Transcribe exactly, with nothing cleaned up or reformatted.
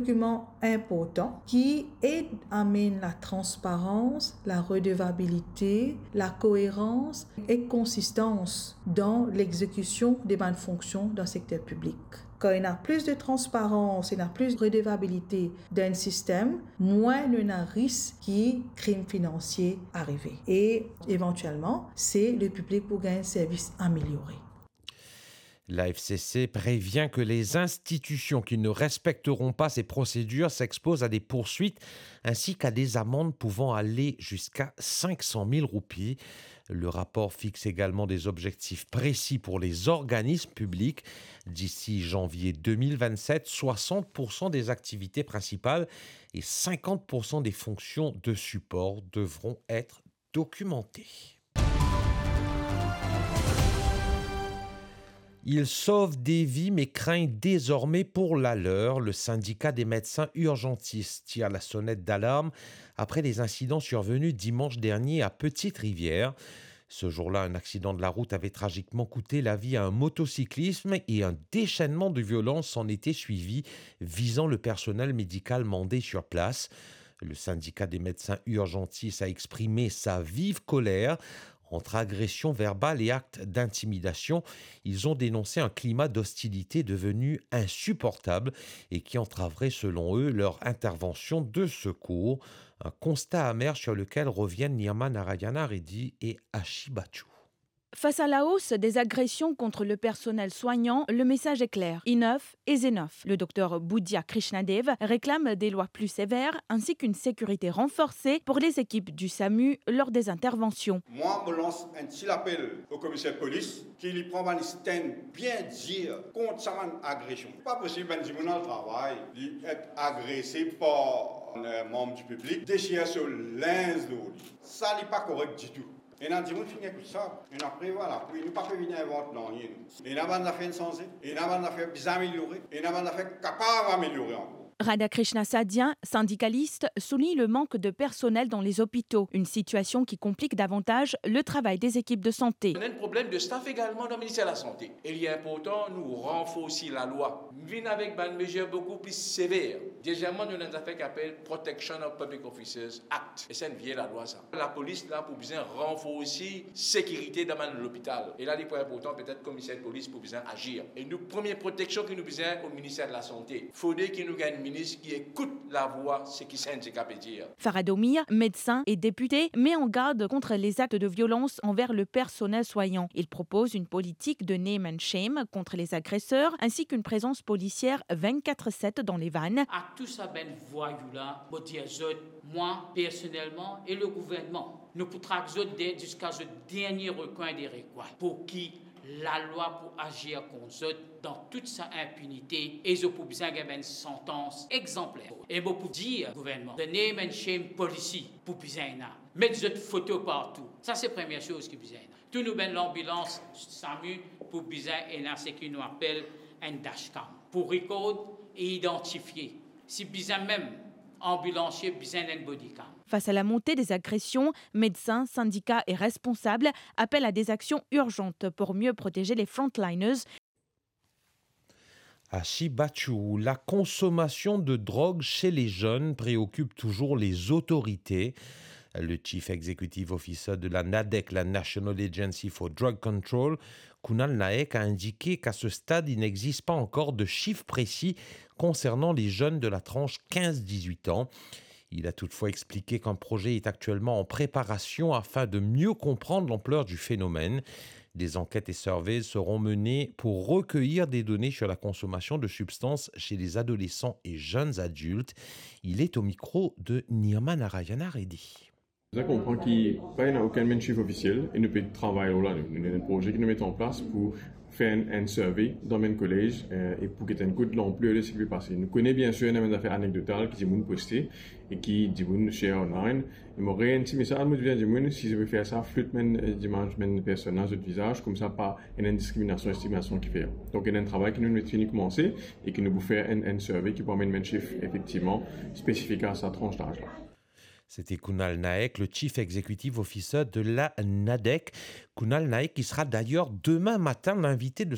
dokiman inportan ki ed amenn latransparans, laredevabilite, lakoerans ek konsistans dan lexekision de bann fonksion dan sekter piblik. Kan ena plis de transparans, ena plis redevabilite dan enn sistem, mwin nou ena risk ki krim finansie arive. E evantielman, se lepiblik pou gagn servis ameliore. La F C C prévient que les institutions qui ne respecteront pas ces procédures s'exposent à des poursuites ainsi qu'à des amendes pouvant aller jusqu'à cinq cent mille roupies. Le rapport fixe également des objectifs précis pour les organismes publics. D'ici janvier deux mille vingt-sept, soixante pour cent des activités principales et cinquante pour cent des fonctions de support devront être documentées. Ils sauvent des vies mais craignent désormais pour la leur. Le syndicat des médecins urgentistes tire la sonnette d'alarme après les incidents survenus dimanche dernier à Petite-Rivière. Ce jour-là, un accident de la route avait tragiquement coûté la vie à un motocycliste et un déchaînement de violence s'en était suivi, visant le personnel médical mandé sur place. Le syndicat des médecins urgentistes a exprimé sa vive colère. Entre agressions verbales et actes d'intimidation, ils ont dénoncé un climat d'hostilité devenu insupportable et qui entraverait, selon eux, leur intervention de secours. Un constat amer sur lequel reviennent Nirma Narayana Reddy et Ashi Bachu. Face à la hausse des agressions contre le personnel soignant, le message est clair. Enough is enough. Le docteur Budhya Krishnadev réclame des lois plus sévères ainsi qu'une sécurité renforcée pour les équipes du samu lors des interventions. Mwa, mo lans enn ti lapel o komiser polis ki li pran bann stand bien dir kont sa bann agresion. Pa posib enn dimoun al travay, li et agrese par enn manm di piblik, desir so linz lor li. Sa li pa korek ditou. Ena dimoun finn ekout sa, ena prevwa lapli, nou pa pe vinn invant nanye, nou. Ena bann zafer inn sanze, ena bann zafer bizin ameliore, ena bann zafer kapav ameliore ankor. Radhakrishna Sadhya, syndicaliste, souligne le manque de personnel dans les hôpitaux, une situation qui complique davantage le travail des équipes de santé. Nou ena enn problem de staff egalman dan minister lasante. E li inportan nou ranforsi lalwa, vinn avek bann mezir boukou pli sever. Dezieman, nou ena enn zafer ki apel Protection of Public Officers Act. E se enn vie lalwa sa. Lapolis la pou bizin ranforsi sekirite dan bann lopital. E la, li pou inportan, petet komiser polis pou bizin azir. E nou, premie proteksion ki nou bizin o minister lasante, fode ki nou gagn enn minis ki ekout lavwa seki sendika pe dir. Farhad Omiya, médecin et député, met en garde contre les actes de violence envers le personnel soignant. Il propose une politique de name and shame contre les agresseurs, ainsi qu'une présence policière vingt-quatre sept dans les vannes. A tou sa bann vwayou la, mo dir zot, mwa personelman e le gouvernman, nou pou trak zot de, ziska zot dernie rekwin de rekwin, pou ki lalwa pou azir kont zot dan tout sa inpinite e zot pou bizin gagn bann santans exanpler. E mo pou dir gouvernman, the name and shame policy pou bizin ena. Met zot foto partou. Sa se premie soz ki bizin ena. Tou nou bann lanbilans, samu, pou bizin ena seki nou apel enn dashcam pou record e idantifie. Si bizin mem, anbilansie bizin enn bodycam. Face à la montée des agressions, médecins, syndicats et responsables appellent à des actions urgentes pour mieux protéger les frontliners. Ashi Bachu, la consommation de drogue chez les jeunes préoccupe toujours les autorités. Le chief executive officer de la NADEC, la National Agency for Drug Control, Kunal Naik, a indiqué qu'à ce stade, il n'existe pas encore de chiffres précis concernant les jeunes de la tranche quinze dix-huit ans. Il a toutefois expliqué qu'un projet est actuellement en préparation afin de mieux comprendre l'ampleur du phénomène. Des enquêtes et surveys seront menées pour recueillir des données sur la consommation de substances chez les adolescents et jeunes adultes. Il est au micro de Nirma Narayana Reddy. Bizin konpran ki pa ena okenn bann sif ofisiel e nou pe travay lor la, nou, nou ena enn proze ki nou met an plas pou fer enn, enn survey dan bann kolez, eh, e pou get enn kout lanpler de seki pe pase. Nou kone biensir ena bann zafer anekdotal ki dimoun poste e ki dimoun share online. E mo ena enn ti mesaz, mo dir dimoun, si zot pe fer sa, flout bann, eh, dimaz, bann personn la, zot vizaz, koumsa pa ena enn diskriminasion, stigmasion ki fer. Donk, ena enn travay ki nou, nou fini koumanse e ki nou pou fer enn, enn survey ki pou amenn bann sif efektivman spesifik a sa tranch daz la. C'était Kunal Naik, le chief executive officer de la NADEC. Kunal Naik qui sera d'ailleurs demain matin l'invité de